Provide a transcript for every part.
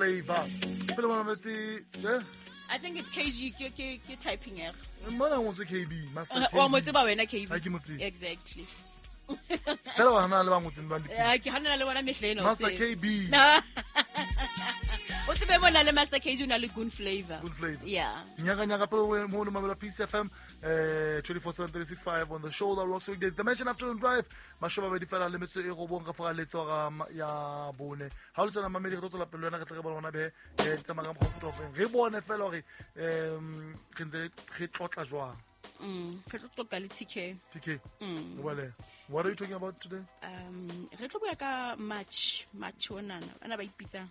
Flavor pele bona metse eh. I think it's KG, ke typing error. Mona ngotswe KB, Master KB. Wa mo tseba wena KB. Ha ke mo tsebe. Exactly. Fela wa hana le ba ngotseng ba le. Eh, ke hanana le bona mehle ena. Master KB. O tsebe bona le Master KG o na le good flavor. Good flavor. Yeah. Nyaka nyaka pele mo no mamela Peace FM 24/7 365 on the show that rocks weekdays. Dimension Afternoon Drive. Mashoba bedi fela le metso e robong ka fara letso ga ya bone. Ha o le tsena mamedi re tlo tswela pele wena re tle re bone hona be di tsamaya ka mokgwa o futa ofeng. Re bone fela hore re ntse re tlotla jwang. Re tlo tlotla le TK. TK. Re What are you talking about today? Re tlo bua ka March, March onana. Bana ba ipitsang.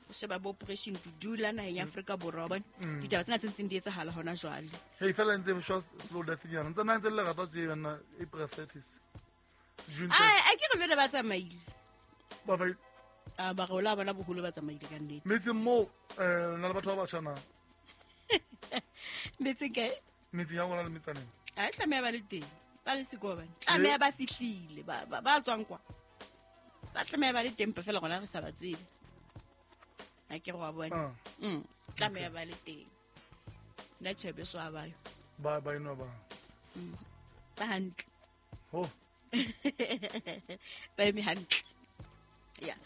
O sheba bo Operation Dudula naheng ya Afrika Borwa, bona. Ditaba tsena tse ntseng di etsahala hona jwale. Hey, fela ntse e shwa slow death nyana. Ntse nna ntse le lerata tje banna April 30th. June Ai, a ke re lona ba tsamaile. Ba ba A ba re ola bona boholo ba tsamaile ka nnete. Metseng moo, na le batho ba batjha na? Metseng kae? Metseng ya rona le metsaneng. A tlameha ba le teng. Ba le siko bana. Tlameha ba fihlile, ba tswang kwa. Ba tlameha ba le teng fela rona re sa ba tsebe. Ha ke re wa bona. Tlameha ba le teng. Nna tjhe beso ha ba yo. Ba ba eno ba. Ba hantle. Ho. Ba eme hantle. Yeah.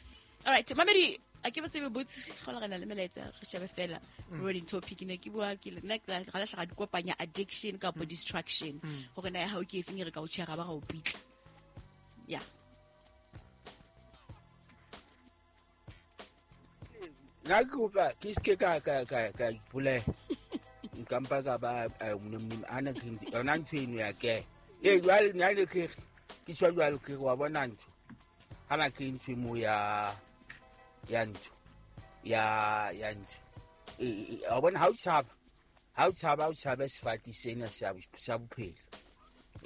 All right, mamedi a ke botse botse go le rena le melaetsa re shebe fela rolling topic ne ke bua ke nna ke ga la hlaga dikopanya addiction kapa distraction gore na ya hao ke efeng re ka o tshega ba ga o pitla. Yeah. Nna ke kopa ke ske ka ipolaya. Nka mpa ka ba ana ke yona ntho eno ya ke. Eh jwale nna ne ke ke tjho jwalo ke wa bona ntho. Hana ke ntho mo ya ntho. Ya ntho. A bona ha o tshaba o tshaba sefate sena sa bophelo.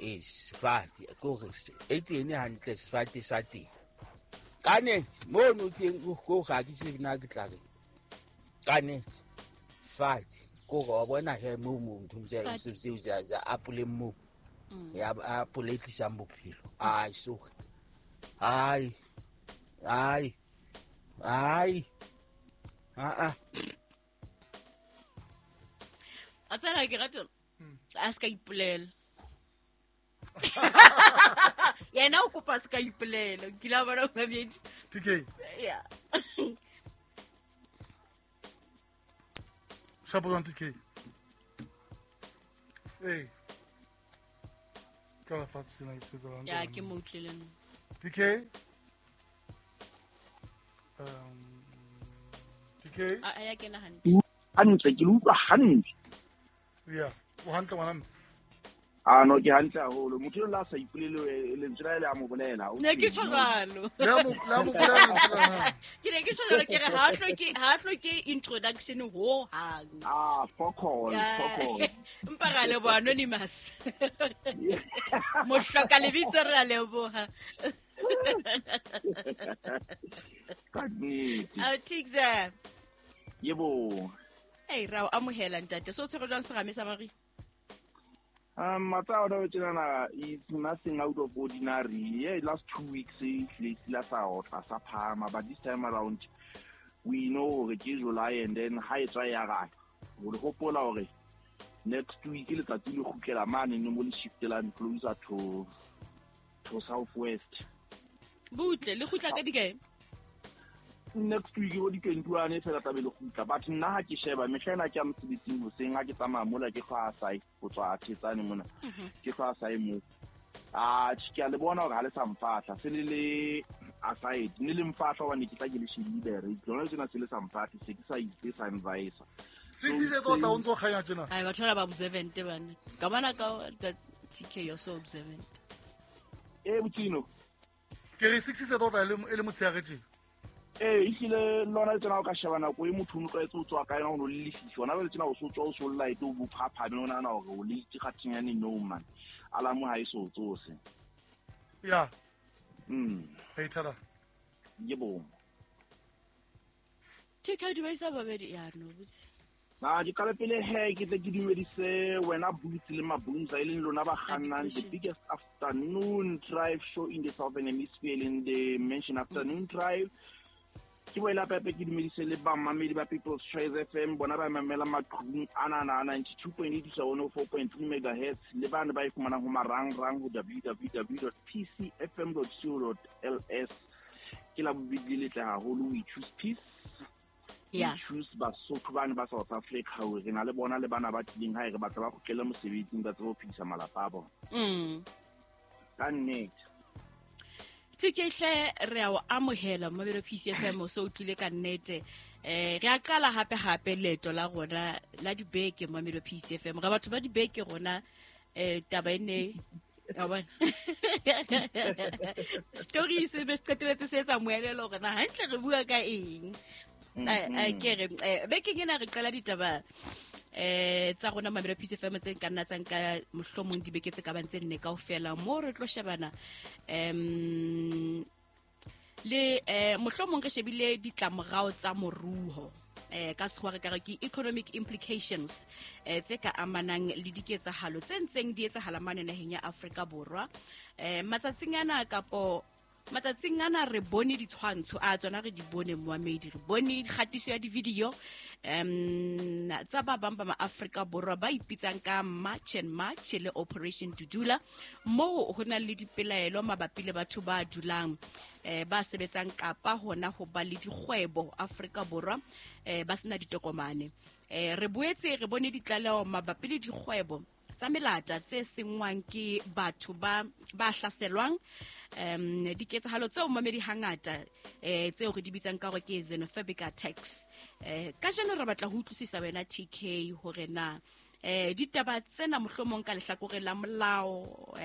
Eh sefate ke hore e teng hantle sefate sa teng. Ka ne mo no teng go ga ke tsebe na ke tla re. Ka ne sefate ko go bona he mo ntho tse se tsa apole mo. Ya apole tlisang bophelo. Ai so. Ai. Ai. Ai. A. A tsena ke rata. A ska ipolela. Yena o kopa ska ipolela. Ke la bona mamedi. TK. Yeah. Shapo jwang TK? Hey. Ka la fatshe sena ke sebetsa hantle. Ya ke mo utlwile nna. TK. TK. A ya kena hantle. Hantle ke utlwa hantle. Yeah, o hantle ngwana mme. A no ke hantle haholo. Motho la sa ipolele lentswe la le a mo bolela. Ne ke tjho jwalo. Le mo bolela lentswe la. Ke ne ke tjho jwalo ke re ha hloke introduction ho hang. Ah, fokol. Mpa ra leboha anonymous. Mohloka lebitso re a leboha. Ka nnete. A Tigza. Yebo. Hey, ra o amohela ntate. So tshwere jwang serame sa Marie? Matsa it's nothing out of ordinary. Yeah, last 2 weeks last but this time around we know it's July and then high try we hope next week letsatsi le kgutlela mane no mo le shiftelang closer to southwest. Butle le kgutla ka dikae? Next week go di 21 fela tla be le kgutla but nna ha ke sheba mehla ena ke a mosebetsing hoseng ha ke tsamaya mola ke hlwa asai ho tswa Thetsane mona ke hlwa asai mo a ke a le bona hore ha le sa mfahla se le le aside ne le mfahla hobane ke tla ke le shebile re lona tsena se le sa mfahle se ke sa itse sa advisor se se tlo tla o ntso kganya tjena ai batho ba observant bana ka bona ka TK you're so observant eh botino ke re 6 se tlo tla e le motshehare tjena. Eh ehlile lona le tsena o ka sheba nako e motho o tlwaetse o tswa ka yona o no le lefifi hona jwale tsena o so tswa o so light o bophaphame o nahana hore o late kgathinyane no man alamo ha e so tsose. Yeah. Hey thada. Yebo. TK dumedisa babedi ya no botse. Na ke qala pele he ke tle ke dumedise wena Boots le Mabunza e leng lona ba kgannang the biggest afternoon drive show in the Southern Hemisphere in the mention afternoon drive. Ke boela pepe ke dumedise le bamamedi ba People's Choice FM, bona ba mamela maqhubung ana 92.8 to 104.3 megahertz, le bana ba e fumanang ho marangrang ho www.pcfm.co.ls. Ke la bobedi le letle haholo, we choose peace. Yeah. We choose Basotho bane ba South Africa, hore re na le bona le bana ba tlileng hae, re batla ba kgutlele mosebetsing, ba tsebe ho phedisa malapa a bona. Ka nnete. TK hle re a o amohela Mabelo PCFM, o so o tlile ka nnete. Re a qala hape hape leeto la rona la dibeke Mabelo PCFM. Re batho ba dibeke rona, taba e ne wa bona. Story se be se qetelletse se etsa moelelo hore na hantle re bua ka eng. Ke re, bekeng ena re qala ditaba tsa rona Mabelo PCFM tse nka nna tsa nka mohlomong dibeke tse ka bang tse nne kaofela, mo re tlo shebana le mohlomong re shebile ditlamorao tsa moruo, ka sekgowa re ka re ke economic implications, tse ka amanang le diketsahalo tse ntseng di etsahala mane naheng ya Afrika Borwa. Matsatsing ana kapo matsatsing ana re bone ditshwantsho a tsona, re di bone moamedi, re bone kgatiso ya di-video tsa ba bang ba ma-Afrika Borwa ba ipitsang ka March and March le Operation Dudula, moo ho nang le dipelaelo mabapi le batho ba dulang, ba sebetsang kapa hona ho ba le dikgwebo Afrika Borwa, ba sena ditokomane. Re boetse re bone ditlaleho mabapi le dikgwebo tsa melata tse sengwang ke batho ba hlaselwang, diketsahalo tseo mamedi hangata tseo re di bitsang ka hore ke xenophobic attacks. Kajeno re batla ho utlwisisa wena TK hore na ditaba tsena mohlomong ka lehlakoreng la molao,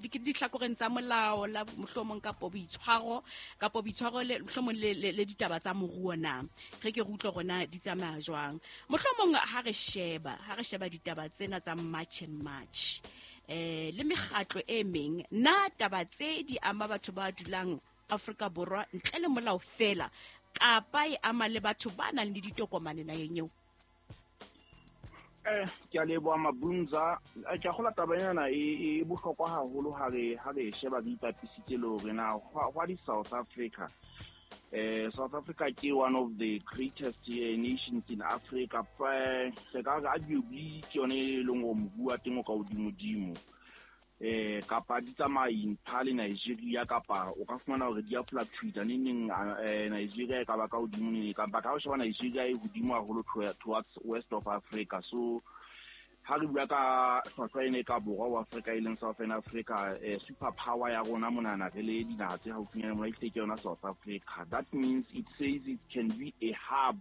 dihlakoreng tsa molao la mohlomong kapo boitshwaro, kapo boitshwaro le mohlomong le ditaba tsa moruo na re ke re utlwe rona di tsamaya jwang. Mohlomong ha re sheba ditaba tsena tsa March and March, le mekgatlo e meng, na taba tse di ama batho ba dulang Afrika Borwa ntle le molao fela, kapa e ama le batho ba nang le ditokomane naheng eo? Ke a leboha Mabunza. Ke a kgolwa taba ena e bohlokwa haholo ha re sheba re ipapisitse le hore na hwa di South Africa. South Africa ke one of the greatest nations in Africa. Re ka re arguably ke yone e leng hore moruo wa teng o ka hodimodimo. Kapa di tsamaya in le Nigeria, kapa o ka fumana hore di a fluctuate neng Nigeria e ka ba ka hodimo neng, kapa ka ho sheba Nigeria e hodimo haholo towards west of Africa. So ha re bua ka hlwahlwa ena e ka borwa wa Africa e leng Southern Africa, super power ya rona monana re le dinaha tse haufinyane mona ehlile ke yona South Africa. That means it says it can be a hub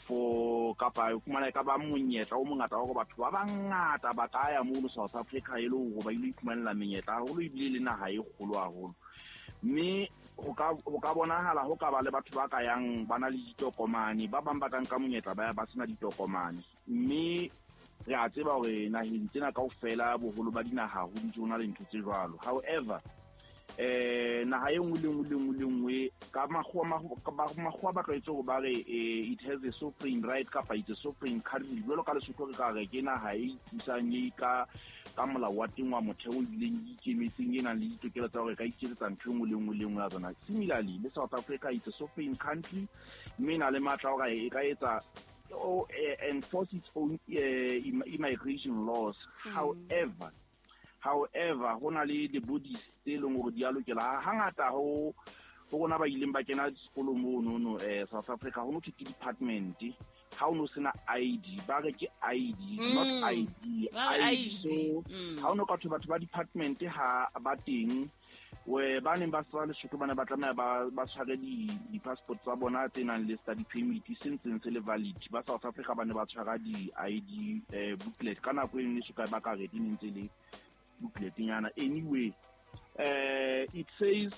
for kapa o fumana e ka ba monyetla o mongata wa hore batho ba bangata ba ka ya mono South Africa e le hore ba ilo iphumanela menyetla haholo, ebile le naha e kgolo haholo. Mme ho ka bonahala ho ka ba le batho ba ka yang ba na le ditokomane, ba bang ba ka nka monyetla ba ya ba sena ditokomane. Mme re a tseba hore naheng tsena kaofela boholo ba dinaha ho ntse ho na le ntho tse jwalo. However, naha e nngwe le nngwe le nngwe le nngwe ka makgowa ba tlwaetse hore ba re it has a sovereign right kapa it's a sovereign country. Jwalo ka Lesotho re ka re ke naha e ipusang e ka molao wa teng wa motheo ebileng e ikemetseng, e nang le ditokelo tsa hore e ka iketsetsa ntho e nngwe le nngwe le nngwe ya tsona. Similarly le South Africa it's a sovereign country, mme e na le matla a hore e ka etsa enforce its own immigration laws. However, ho na le the bodies tse leng hore di a lokela. Hangata ho rona ba ileng ba kena sekolo mono South Africa, ho no thwe ke department. Ha o no sena ID, ba re ke ID, not ID, ID. So ha o no ka thwe batho ba department ha ba teng, we ba neng ba sa Lesotho ba ne ba tlameha ba tshware di-passport tsa bona tse nang le study permit se ntseng se le valid. Ba South Africa ba ne ba tshwara di-ID booklet ka nako e nngwe soka ba ka re di ne ntse le booklet nyana. Anyway, it says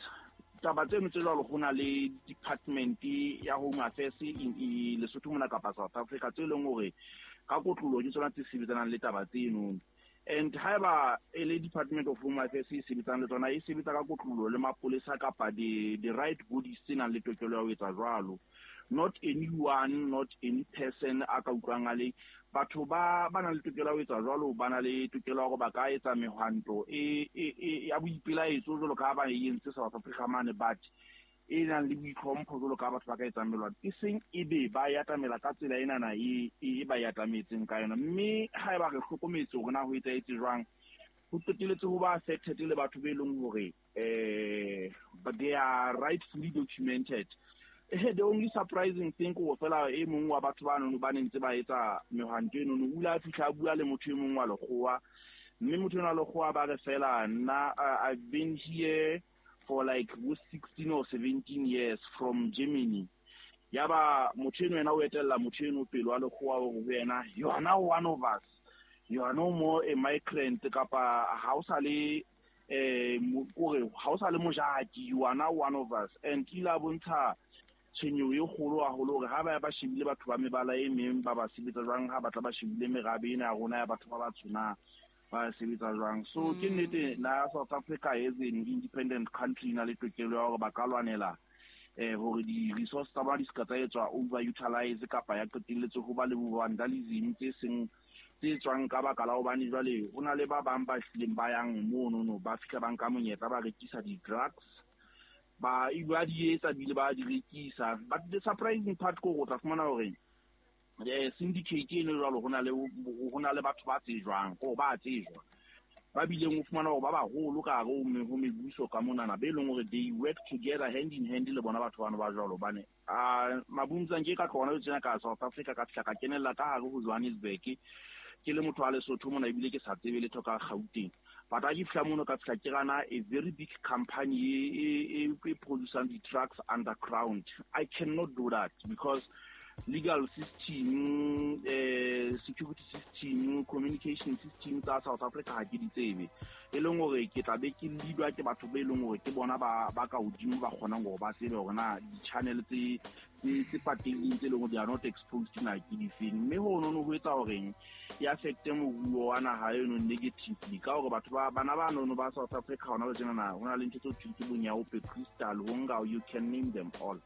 taba tseno tse jwalo ho na le department ya Home Affairs in Lesotho mona kapa South Africa tse leng hore ka kotlolo ke tsona tse sebetsanang le taba tseno. And haeba e le Department of Home Affairs e sebetsang le tsona, e sebetsa ka kotlolo le mapolesa kapa the right bodies tse nang le tokelo ya ho etsa jwalo. Not anyone, not any person a ka utlwang a le batho ba nang le tokelo ya ho etsa jwalo, ba na le tokelo ya hore ba ka etsa mehwanto e ya boipelaetso jwalo ka ha ba e entse South Africa mane, but e nang le boitlhompho jwalo ka batho ba ka etsang melwantho, e seng e be ba yatamela ka tsela enana e ba yatametseng ka yona. Mme ha eba re hlokometse hore na ho etsahetse jwang, ho qetelletse ho ba affected le batho be leng hore but they are rightfully documented. The only surprising thing ko fela e mong wa batho ba nono ba ne ntse ba etsa mehwanto eno, o ile a fihla a bua le motho e mong wa lekgowa, mme motho ena wa lekgowa ba re fela nna I've been here for like 16 or 17 years from Germany. Yaba motho eno yena o etella motho eno pele wa lekgowa hore ho yena, you are now one of us, you are no more a migrant, kapa ha o sa le kore ha o sa le mojaki, you are now one of us. And ke ile a bontsha tshwenyeho e kgolo haholo hore ha ba ba shebile batho ba mebala e meng ba ba sebetsa jwang, ha batla ba shebile merabe ena ya rona ya batho ba batsho na ba sebetsa jwang. So ke nnete na South Africa as an independent country na le tokelo ya hore ba ka lwanela hore di-resource tsa bona di ska tsa etswa over-utilize kapa ya qetelletse ho ba le vandalism tse seng tse tswang ka baka la hobane jwale ho na le ba bang ba hlileng ba yang monono ba fihla ba nka monyetla ba rekisa di-drugs, ba di etsa bile ba di rekisa. But the surprising part ko o tla fumana hore syndicate eno jwalo ho na le batho ba tsejwang, ko ba tsejwa, ba bileng o fumana hore ba baholo ka hare ho mebuso ka monana, be leng hore they work together hand in hand le bona batho bano ba jwalo. Hobane Mabuntsang ke ka tloha hona tjena ka South Africa ka fihla ka kenella ka hare ho Johannesburg, ke le motho wa Lesotho mona ebile ke sa tsebe letho ka Gauteng. But ha ke fihla mono ka fihla ke rana a very big company e producing the trucks underground. I cannot do that because legal system, security system, communication system tsa South Africa ha ke di tsebe. E leng hore ke tla be ke leadwa ke batho be leng hore ke bona ba ka hodimo ba kgonang hore ba tsebe hore na di-channel tse patehileng tse leng hore they are not exposed na ke difeng. Mme ho nono ho etsa horeng e affecte moruo wa naha eno negatively, ka hore batho ba bana ba nono ba South Africa hona le tjena na ho na le ntho tse thweng ke bonyaope, crystal, ho nka, you can name them all.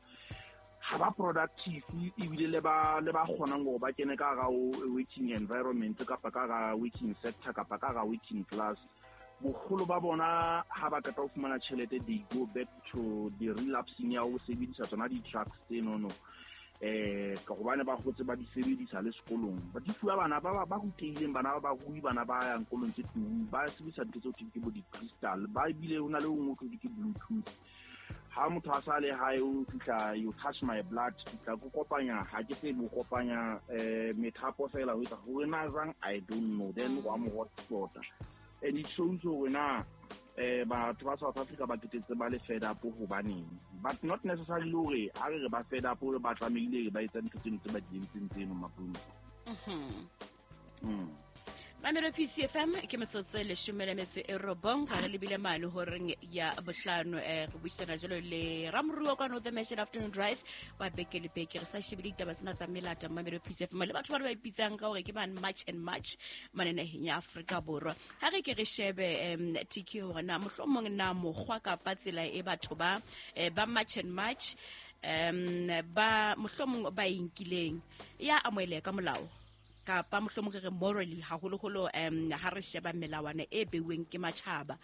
Ha ba productive ebile le ba kgonang hore ba kene ka hara working environment kapa ka hara working sector kapa ka hara working class, boholo ba bona ha ba qeta ho fumana tjhelete they go back to the relapsing ya ho sebedisa tsona di-drugs tsenono, ka hobane ba hotse ba di sebedisa le sekolong. Ba di fuwa bana ba rutehileng, bana ba barui, bana ba yang kolong tse tung, ba sebedisa ntho tseo thweng ke bo di-crystal, ba ebile ho na le o nngwe thweng ke bluetooth. Ha motho a sa le hae o fihla, you touch my blood, fihla ko kopanya, ha ke tsebe o kopanya methapo fela ho etsa hore na jwang, I don't know, then wa mo hotspota. And it shows hore na batho ba South Africa ba qetetse ba le fed up hobaneng, but not necessarily hore ha re re ba fed up hore ba tlamehile ba etsa ntho tseno tse ba di entseng tseno Mabunzi. Mamelo PCFM ke metsotso e 19 ga re lebile mane horeng ya 5. Re buisana jalo le Ramoruo kwa The Mission Afternoon Drive wa beke le beke, re sa shebile ditaba tsena tsa melata. Mamelo PCFM le batho ba re ba ipitsang ka hore ke ban March and March mane naheng ya Afrika Borwa. Ha re ke re shebe TK hore na mohlomong na mokgwa kapa tsela e batho ba ba March and March ba mohlomong ba inkileng ya amoheleha ka molao kapa mohlomong re re morally, haholoholo ha re sheba melawana e beuweng ke matjhaba.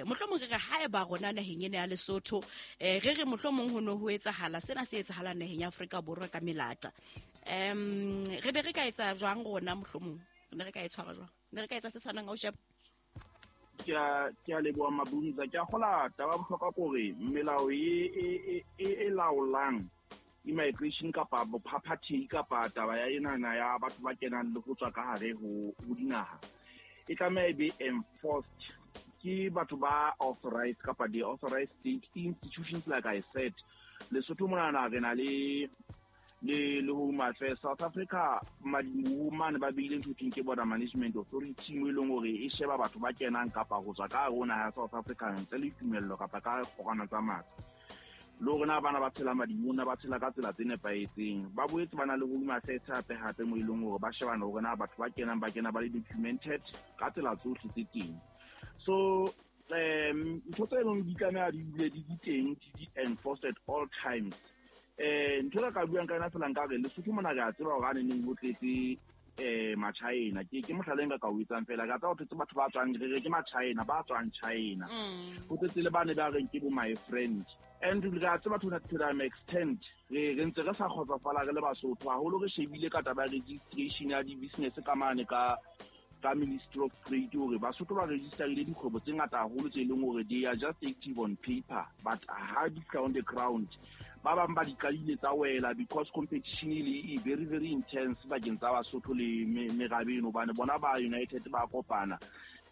Mohlomong re re haeba rona naheng ena ya Lesotho, re re mohlomong ho no ho etsahala sena se etsahalang naheng ya Afrika Borwa ka melata, re be re ka etsa jwang rona? Mohlomong ne re ka e tshwara jwang? Ne re ka etsa se tshwanang ha o sheba? Ke a leboha Mabunza. Ke a kgola taba ya bohlokwa kore melao e laolang immigration kapa bophaphathehi kapa taba ya enana ya batho ba kenang le ho tswa ka hare ho dinaha e tlameha e be enforced ke batho ba authorized kapa the authorized state institutions. Like I said, Lesotho monana re na le Home Affairs. South Africa mane ba beile ntho thweng ke Border Management Authority, mo e leng hore e sheba batho ba kenang kapa ho tswa ka hare ho naha ya South Africa ntle le tumello kapa ka kgorwana tsa matla, le hore na bana ba tshela madimona ba tshela ka tsela tse nepahetseng. Ba boetse ba na le Home Affairs hape hape, mo e leng hore ba shebana hore na batho ba kenang ba kena ba le documented ka tsela tsohle tse teng. So ntho tse leng di tlameha di dule di teng, di enforced at all times. Ntho e ka buang ka yona fela, nkare Lesotho mona re a tseba hore a neneng ho tletse Machina ke mohlala nka ka o etsang fela ka tsa ho thetse batho ba tswang re ke Machina ba tswang China ho tletse le bane ba reng ke bo my friend and re a tseba to an extent re ntse re sa kgotsofala re le Basotho haholo re shebile ka taba ya registration ya di-business ka mane ka Ministry of Trade hore Basotho ba registerile dikgwebo tse ngata haholo tse leng hore they are just active on paper but ha di fihla on the ground ba bang ba di qadile tsa wela because competition e very very intense bakeng tsa Basotho le merabe eno hobane bona ba United ba kopana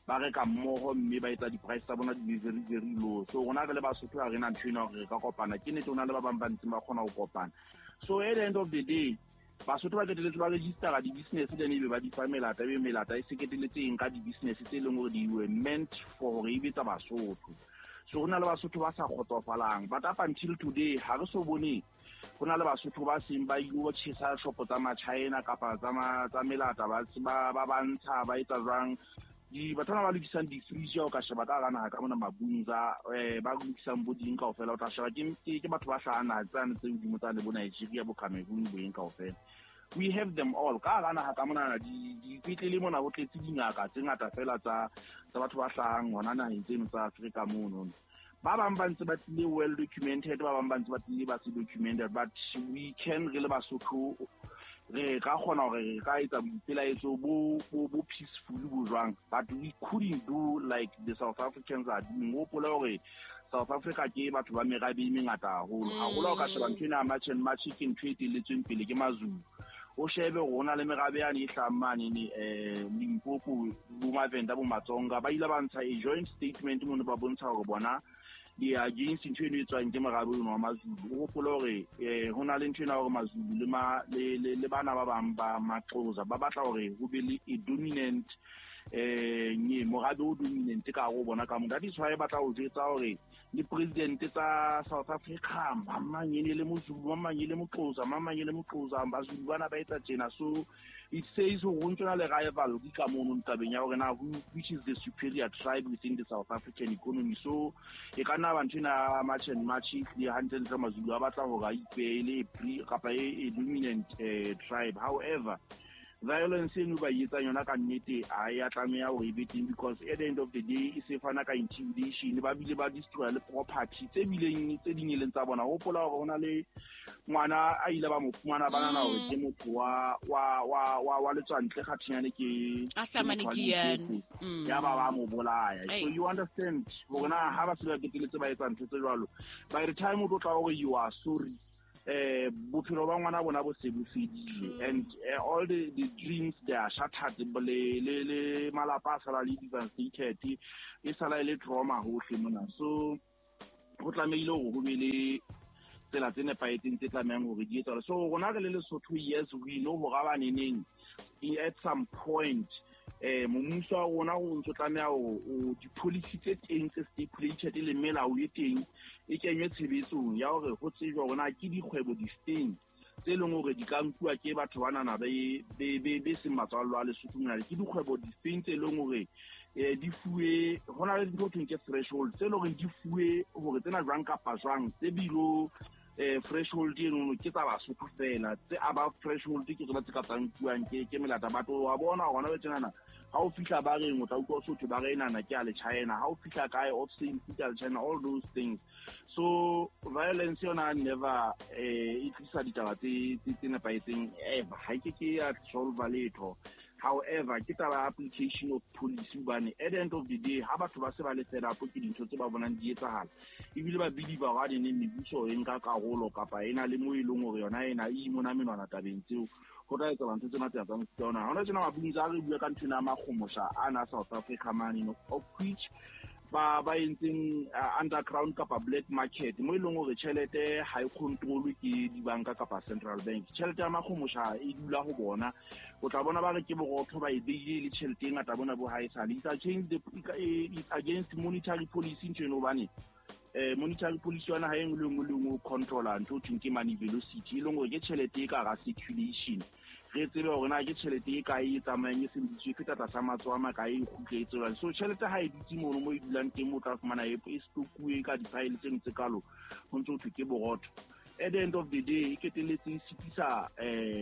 ba reka mmoho mme ba etsa di-price tsa bona di be very very low. So rona re le Basotho ha re na ntho ena hore re ka kopana, ke nnete ho na le ba bang ba ntseng ba kgona ho kopana. So at the end of the day Basotho ba qetelletse ba registera di-business then ebe ba di fa melata, ebe melata e se qetelletse eng ka di-business tse leng hore di were meant for hore e be tsa Basotho. So ho na le Basotho ba sa kgotsofalang, but up until today ha re so bone ho na le Basotho ba seng ba ilo tjhesa shopo tsa Machina kapa tsa melata ba ntsha ba etsa jwang. Batho bana ba lokisang di-fridge o ka sheba ka hara naha ka mona Mabunza, ba lokisang bo ding kaofela o tla sheba ke batho ba hlahang naha tsane tse hodimo tsane bo Nigeria bo Cameroon bo eng kaofela. We have them all ka hara naha ka mona dipetlele mona ho tletse dingaka tse ngata fela tsa batho ba hlahang hona naheng tseno tsa Afrika mono. Ba bang ba ntse ba tlile well documented, ba bang ba ntse ba tlile ba se documented, but we can re le Basotho re ka kgona hore re ka etsa boipelaetso bo peaceful bo jwang, but we couldn't do like the South Africans are doing. O hopola hore South Africa ke batho ba merabe e mengata haholo haholo. O ka sheba ntho ena ya March and March ke ntho e telletsweng pele ke Mazulu. O shebe hore ho na le merabe yane e hlahang mane Limpopo, bo Mavenda, bo Matsonga, ba ile ba ntsha a joint statement mono ba bontsha hore bona they are against ntho eno e tswang ke morabe ono wa Mazulu. O hopole hore ho na le ntho ena hore Mazulu le bana ba bang ba Maxhosa ba batla hore ho be le a dominant morabe o dominant ka hare ho bona ka moo. That is why ba tla o jwetsa hore le president tsa South Africa mang e ne le Mozulu, mang e le Moxhosa, mang e le Moxhosa, Bazulu bana ba etsa tjena. So it says hore ho ntso na le rivalry ka mono tabeng ya hore na which is the superior tribe within the South African economy. So e ka nna ba ntho ena March and March le hantle Mazulu a batla hore a ipeele pre kapa e dominant tribe. However, violence eno ba e etsang yona ka nnete ha ya tlameha hore e be teng because at the end of the day e se fana ka intimidation, ba bile ba destroy le property tse bileng tse ding e leng tsa bona. Hopola hore ho na le ngwana a ile ba mo fumana ba nahana hore ke motho wa letswantle kgathinyane ke ya ba mo bolaya. So you understand hore na ha ba se ba qetelletse ba etsa ntho tse jwalo, by the time o tlo tla hore you are sorry, bophelo ba ngwana bona bo se bo fedile and all the dreams they are shattered, le malapa a sala le devastated, e sala e le trauma hohle mona. So ho tlamehile hore ho be le tsela tse nepahetseng tse tlamehang hore di etsahale. So rona re le Lesotho, yes, we know hore ba neneng at some point mmuso wa rona o ntso tlameha hore di-policy tse teng tse stipulated le melao e teng e kenywe tshebetsong ya hore ho tsejwa hore na ke dikgwebo difeng tse leng hore di ka nkuwa ke batho banana be seng matswallo a Lesotho mona, ke dikgwebo difeng tse leng hore di fuwe, ho na le dintho ho thweng ke threshold tse leng hore di fuwe hore tsena jwang kapa jwang tse bilo threshold eno ke tsa Basotho fela, tse above threshold ke tsona tse ka tsa nkuwang ke melata. Batho wa bona hona le tjenana ha o fihla ba reng o tla utlwa Sotho ba re nana ke a le China, ha o fihla kae off sale ke a le China, all those things. So violence yona never e tlisa ditaba tse nepahetseng ever, ha ke ke ya solve letho. However, ke taba application of policy hobane at the end of the day ha batho ba se ba le fed up ke dintho tse ba bonang di etsahala, ebile ba believe hore ne mebuso e nka karolo kapa e na le mo e leng hore yona ena e imona menwana tabeng tseo, ho tla etsa ntho tsena tse tsa mofuta ona. Hona tjena Mabunza a re bua ka ntho ena ya makgomosha ana South Africa mane, of which ba entseng underground kapa black market mo e leng hore tjhelete ha e controlwe ke dibanka kapa central bank. Tjhelete ya makgomosha e dula ho bona, o tla bona ba re ke borotho ba e beile le tjhelete e ngata bona bo ha e sale. It's against monetary policy ntho eno hobane monetary policy yona ha e nngwe le nngwe le nngwe o controla ntho ho thweng ke money velocity, e leng hore ke tjhelete e ka hara circulation. Re tsebe hore na ke tjhelete e kae e tsamayang e sebediswe e feta tlasa matsoho a makae e kgutle e tswellang. So tjhelete ha e dutse mono mo e dulang teng, o tla fumana e stokuwe ka di-pile tseno tse kalo, ho ntso ho thwe ke borotho. At the end of the day, e qetelletse e sitisa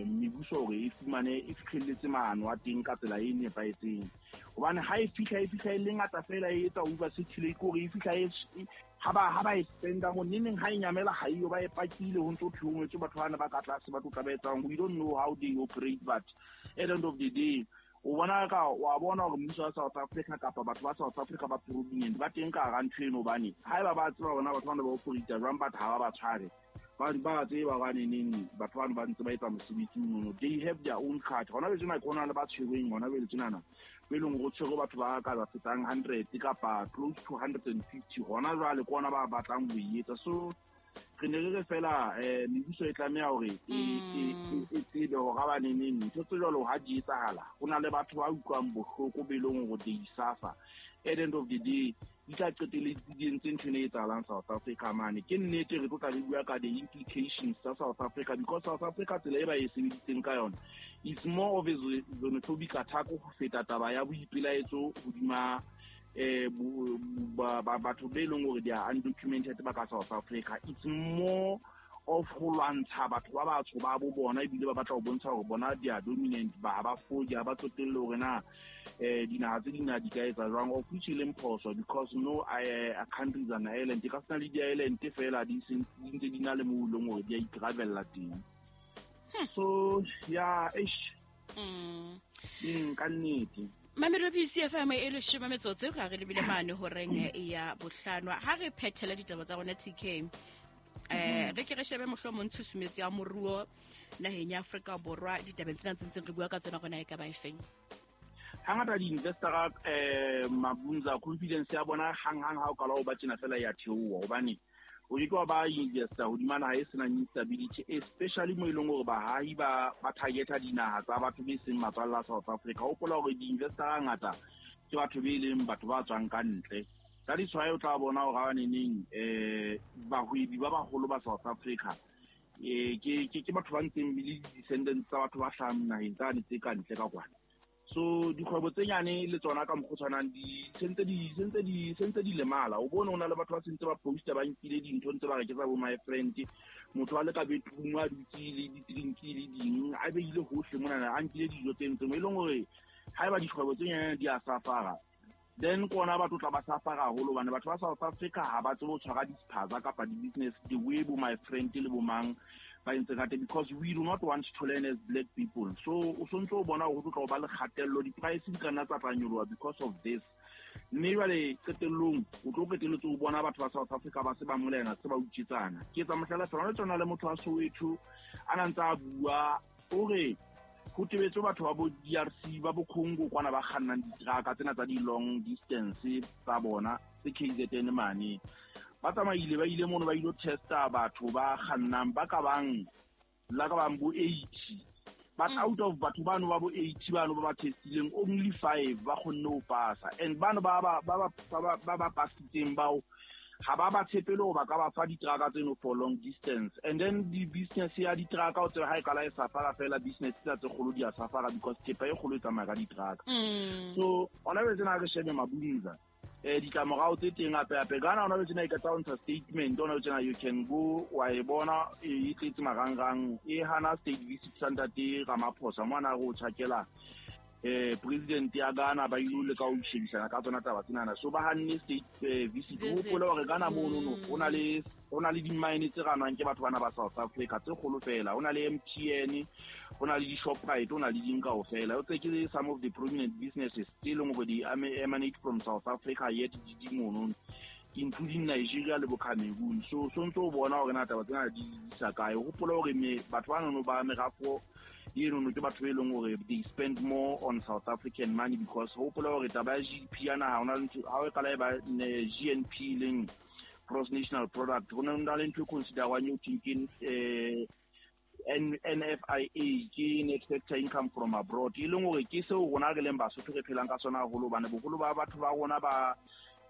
mebuso hore e fumane e fihlelletse maano a teng ka tsela e nepahetseng. Hobane ha e fihla e fihla e le ngata fela e etsa over circulate, ke hore e fihla e ha ba e spenda mo neneng, ha e nyamela ha eyo, ba e pakile ho ntso thwe ho ngwetswe batho bana ba ka tlase ba tlo tla ba etsang. We don't know how they operate, but at the end of the day o bona ka wa bona hore mmuso wa South Africa kapa batho ba South Africa ba prominent ba teng ka hara ntho eno, hobane haeba ba tseba bona batho bana ba operate jwang, but ha ba ba tshware ba ba tseba hobane neng batho bano ba ntse ba etsa mosebetsi mono. They have their own card. Hona jwale tjena ke hona le ba tshwerweng hona jwale tjenana, be leng hore tshwerwe batho ba ka ba fetang 100 kapa close to 150 hona jwale, ke ona ba batlang ho e etsa. So re ne re re fela mebuso e tlameha hore e tsebe hore ha ba neneng ntho tse jwalo ha di etsahala, ho na le batho ba utlwang bohloko be leng hore they suffer. At the end of the day di tla qetelletse di entse ntho ena e etsahalang South Africa mane. Ke nnete re tlo tla re bua ka the implications tsa South Africa, because South Africa tsela e ba e sebeditseng ka yona is more of a xenophobic attack ho feta taba ya boipelaetso hodima batho be leng hore they are undocumented ba ka South Africa. It's more of ho lwantsha batho ba batsho ba bo bona, ebile ba batla ho bontsha hore bona they are dominant, ba ba foje, ha ba tsotelle hore na dinaha tse ding na di ka etsa jwang, of which e leng phoso, because no country is an island. E ka sena le di-island fela di ntse di na le moo e leng hore di a ikarabella teng. So yeah, eish. Ka nnete. Mamelo PCFM e leshome metsotso ga re lebile mane horeng ya bohlano. Ha re phethela ditaba tsa rona TK, re ke re shebe mohlomong tshusumetso ya moruo naheng ya Afrika Borwa ditabeng tsena tse ntseng re bua ka tsona rona e ka ba efeng. Hangata di-investor Mabunza confidence ya bona hang-hang ha o qala ho ba tjena fela ya theoha, hobane o ke ke wa ba investor hodima naha e senang instability, especially mo e leng hore bahahi ba targeta dinaha tsa batho be seng matswalla a South Africa. Hopola hore di-investor hangata ke batho be leng batho ba tswang ka ntle. Ka ditshwae o tla bona hore ha neneng bahwebi ba baholo ba South Africa ke batho ba ntseng le di-descendants tsa batho ba hlahang naheng tsane tse ka ntle ka kwana. So dikgwebo tse nyane le tsona ka mokgwa o tshwanang di sentse di lemala. O bone ho na le batho ba sentse ba posta ba nkile dintho ntse ba re ke tsa bo my friend, motho a le ka bedroom a dutse le di-drink le ding a beile hohle monana, a nkile dijo tse ntse mo e leng hore haeba dikgwebo tse nyane di a safara, then kona batho tla ba safara haholo, hobane batho ba South Africa ha ba tsebe ho tshwara dispaza kapa di-business the way bo my friend le bo mang ba entse ka teng, because we do not want to learn as black people. So o sontse o bona hore ho tlo ba le kgatello, di-price di ka nna tsa tla nyoloha because of this. Mme jwale qetellong o tlo qetelletse o bona batho ba South Africa ba se ba molena, se ba utswetsana. Ke etsa mohlala fela, hona tsona le motho wa Soweto a na ntse a bua o re ho tebetswe batho ba bo DRC ba bo Congo kwana ba kgannang diteraka tsena tsa di-long distance tsa bona tse KZN mane. Ba tsamaile ba ile mono ba ilo testa batho ba kgannang ba ka bang la ka bang bo 80, but out of batho bano ba bo 80 bano ba ba testileng only 5 ba kgonne ho pasa, and bano ba ba pasitseng bao ha ba ba tshepele hore ba ka ba fa diteraka tseno for long distance. And then di business ya diteraka o tsebe ha e qala e safara fela, business tsa tse kgolo di a safara because thepa e kgolo e tsamaya ka diteraka. So hona jwale tsena re shebe Mabunza ditlamorao tse teng hape hape. Ghana hona jwale tsena e ka tsa ho ntsha statement hona jwale tsena, you can go wa e bona e tletse marangrang e hana state visit sa ntate Ramaphosa mo ana re o tjhakela president ya Ghana ba ile le ka ho shebisana ka tsona taba tsenana. So ba hanne state visit. Hopola hore Ghana mono no ho na le di-mine tse ranwang ke batho bana ba South Africa tse kgolo fela, ho na le MTN, ho na le di-Shoprite, ho na le ding kaofela. O tse ke some of the prominent businesses tse leng hore di emanate from South Africa yet di di mono, including Nigeria le bo Cameroon. So ntso o bona hore na taba tsena di isa kae. Hopola hore me batho ba nono ba merafo eno ke batho be leng hore they spend more on South African money, because hopola hore taba ya GDP ya naha hona le ntho ha o qala e ba GNP leng gross national product, ho na le ntho e considerwang eo thweng ke NFIA, ke net factor income from abroad, e leng hore ke seo rona re leng Basotho re phelang ka sona haholo, hobane boholo ba batho ba rona ba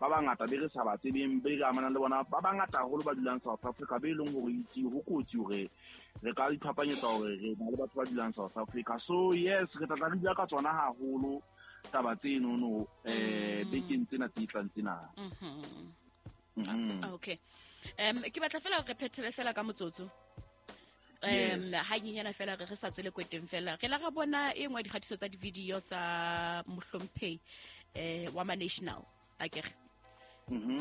bangata be re sa ba tsebeng, be re amanang le bona ba bangata haholo ba dulang South Africa, be leng hore itse ho kotsi hore re ka iphapanyetsa hore re na le batho ba dulang South Africa. So yes, re tla re bua ka tsona haholo taba tseno no bekeng tsena tse tlang tsena. Okay. Ke batla fela re phethele fela ka motsotso. Ha nyenyana fela re sa tswele kweteng fela re la ra bona e nngwe dikgatiso tsa di-video tsa mohlomphehi wa ma national akere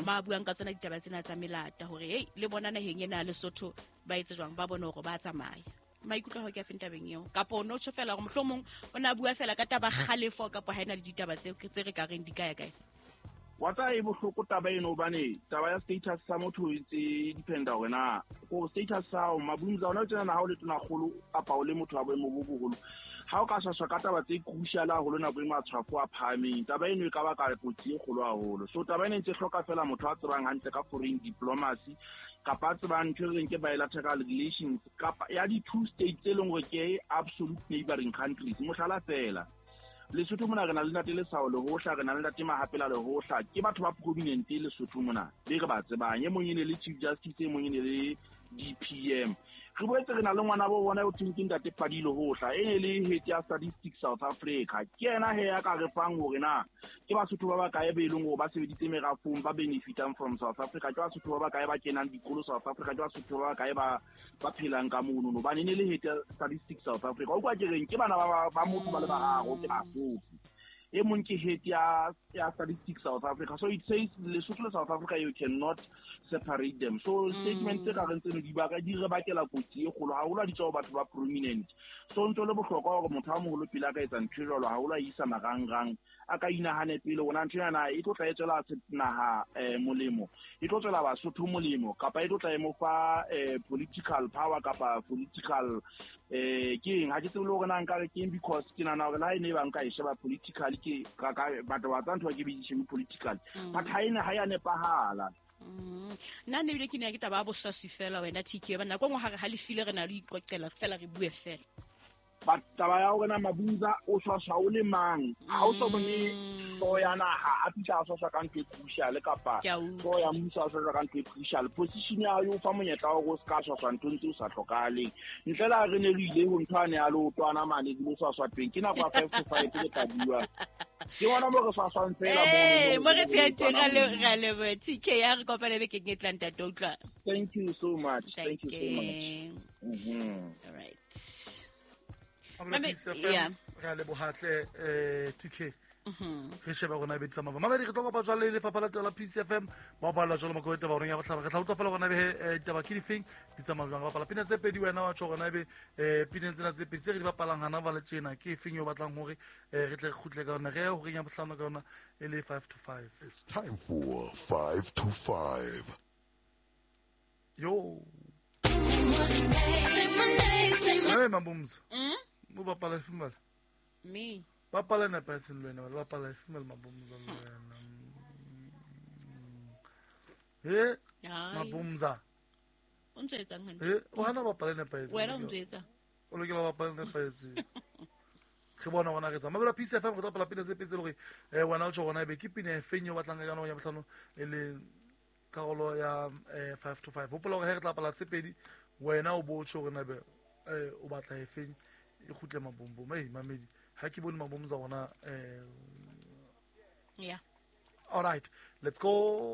ba buang ka tsona ditaba tsena tsa melata hore hey le bona naheng ena Lesotho ba etse jwang ba bone hore ba tsamaya. Maikutlo a hao ke a feng tabeng eo kapo o no tjho fela hore mohlomong o na bua fela ka taba kgalefo kapo ha ena le ditaba tse re ka reng di kae kae? Wa tsa e bohloko taba eno hobane taba ya status sa motho e ntse dependa hore na ko status sa hao Mabumza ona tsena ha o le tonakgolo kapa o le motho wa boemo bo boholo ha o ka shashwa ka taba tse crucial haholo nako e matshwafo a phahameng taba eno e ka baka kotsi e kgolo haholo. So taba ena e ntse hloka fela motho a tsebang hantle ka foreign diplomacy kapa a tsebang ntho e reng ke bilateral relations kapa ya di-two states tse leng hore ke absolute neighboring countries. Mohlala fela Lesotho mona re na le ntate Lesao Lehohla, re na le ntate Mahapela Lehohla, ke batho ba prominent Lesotho mona be re ba tsebang. E mong e ne le Chief Justice, e mong e ne le DPM. Re boetse re na le ngwana bo bona o thweng ke ntate Padi Lehohla, e ne le head ya Statistics South Africa. Ke yena he ya ka re fang hore na ke Basotho ba bakae be leng hore ba sebeditse merafong ba benefitang from South Africa, ke Basotho ba bakae ba kenang dikolo South Africa, ke Basotho ba bakae ba phelang ka mono. Hobane e ne le head ya Statistics South Africa. O kwa ke reng ke bana ba motho ba le bararo ke Basotho. E mong ke head ya Statistics South Africa. So it says Lesotho le South Africa you cannot separate them. So statement tse ka reng tseno di baka di re bakela kotsi e kgolo haholo ha di tswa ho batho ba prominent. So ntho le bohlokwa hore motho a moholo pele a ka etsa ntho e jwalo haholo a isa marangrang a ka inahane pele hore na ntho ena e tlo tla e tswela naha molemo, e tlo tswela Basotho molemo kapa e tlo tla e mo fa political power kapa political ke eng. Ha ke tsebe le hore na nka re ke eng because ke nahana hore le ha e ne e ba nka e sheba politically ke ka batho ba tsa ntho ke be di shebe politically but ha ena ha ya nepahala. Nna ne ebile ke ne ke taba ya boswaswi fela wena TK ba nako nngwe ha re halefile re na le iqoqela fela re bue fela. But taba ya hore na Mabumza o swaswa o le mang ha o so bone hlooho ya naha a fihla a swaswa ka ntho e crucial kapa hlooho ya mmuso a swaswa ka ntho e crucial. Position ya hao e o fa monyetla wa hore o ska swaswa nthong tse o sa hlokahaleng. Ntle le ha re ne re ile ho ntho ane ya leotwana mane ke lo swaswa teng ke nako ya 5 to 5 ke tla bua. Ke bona mo re swaswang fela mo re tshehetseng ra leboha TK ya re kopane bekeng e tlang ntate utlwa. Thank you so much. Thank you so much. All right. Re a lebohatle TK. Re shebe rona be tsamaya. Mamedi re tlo kopa jwale lefapha la tela PCFM ba balla jwalo mako taba rona ya bohlaba. Re tla utlwa fela rona be ditaba ke difeng di tsamaya jwang. Bapala pina tse pedi wena wa tjho rona be pina tsena tse pedi tse re di bapalang hana ba le tjena ke efeng yo batlang hore re tle re kgutle ka yona re ya horeng ya bohlano ka yona e le 5 to 5. It's time for 5 to 5. Yo. Hey Mabumza. O bapala female. Me. Bapala na paseng le wena, bapala female Mabumza le wena. He Mabumza. O ntse etsang hantle? He o hana bapala na paseng. Wena o ntse etsang? O lokela bapala na paseng. Re bona gona re tsamaya. Mabela Peace FM re tla bapala pina tse pedi tse le hore wena o tjho gona ebe ke pina e feng eo batlang ka yona ya bohlano e le karolo ya 5 to 5. Hopola hore he re tla bapala tse pedi wena o bo tjho hore na be o batla e feng e kgutle mabombom. Ei mamedi ha ke bone mabombom za rona Yeah. All right, let's go.